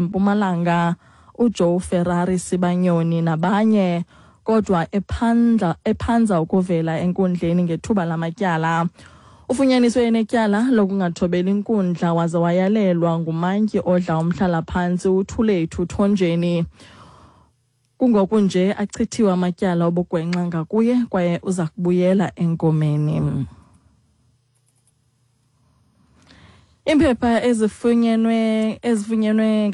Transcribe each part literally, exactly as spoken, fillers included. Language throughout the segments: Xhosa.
Mpumalanga uJoe Ferrari Sibanyoni nabanye, kodwa ephandla ephanza ukuvela enkundleni ngethuba lamatyala. Ufunyaniswe enetyala lokungathobeli inkundla waze wayalelwa ngumantyi odla umhlalaphantsi uThulethu Thonjeni. Kungoku nje achithiwe amatyala obugwenxa ngakuye kwaye uza kubuyela enkomeni. Iimpepha ezifunyenwe ezifunyenwe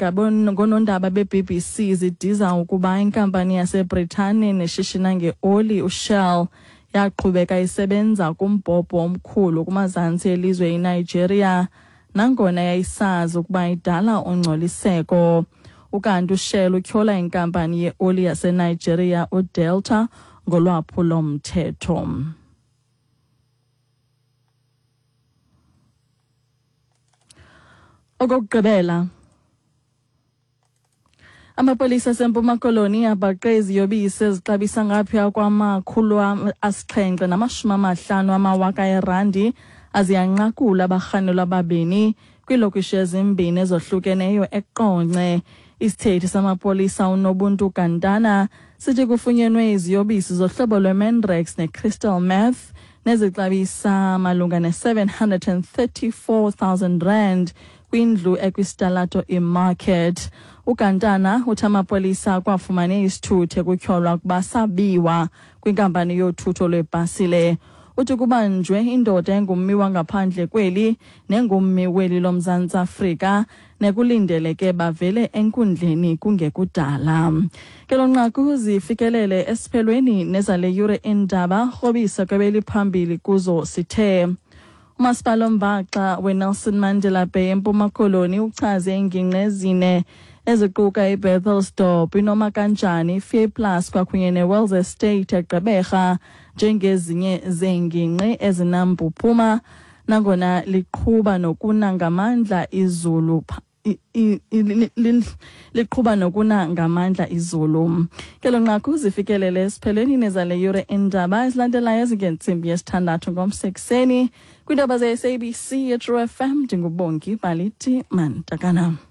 ngoonondaba be-B B C zidiza ukuba inkampani yaseBritane neshishina ngeoli uShell yaqhubeka isebenza kumbhobho omkhulu kumazantsi elizwe iNigeria nangona yayisazi ukuba idala ungcoliseko. Ukanti uShell utyhola inkampani yeoli yaseNigeria uDelta ngolwaphulo-mthetho. Okokugqibela, amapolisa aseMpuma Koloni abhaqe iziyobisi ezixabisa ngaphaya kwamakhulu asixhenxe namashumi amahlanu amawaka erandi aziyanqakula abarhanelwa ababini kwiilokishi ezimbini ezohlukeneyo eQonce. Isithethi samapolisa uNobuntu Gantana sithi kufunyenwe iziyobisi zohlobo lweMandrax neCrystal meth nezixabisa malunga ne-seven hundred and thirty-four thousand rand kwindlu ekwisitalato iMarket. UGantana uthi amapolisa kwafumane isithuthi ekutyholwa ukuba sabiwa kwinkampani yothutho lwebhasile. Uthi kubanjwe indoda engummi wangaphandle kweli nengummi weli loMzantsi Afrika nekulindeleke bavele enkundleni kungekudala. Ke lo nqaku zifikelele esiphelweni nezale yure indaba rhobisa kwebeliphambili kuzo sithe. Umasipala ombaxa weNelson Mandela Bay eMpuma Koloni uchaze iingingqi ezine eziquka iBethelsdorp, iNomakanjani, iFearplus kwakunye neWells Estate eGqeberha njengezinye zeengingqi ezinampuphuma nangona liqhuba nokuna ngamandla izulu liqhuba nokuna ngamandla izulu. Ke lo nqaku zifikelele esiphelweni nezale yure indaba ezilandelayo ezingentsimbi yesithandathu ngomsekuseni kwiindaba ze-S A B C yeTru F M. NdinguBongi Baliti Mantakana.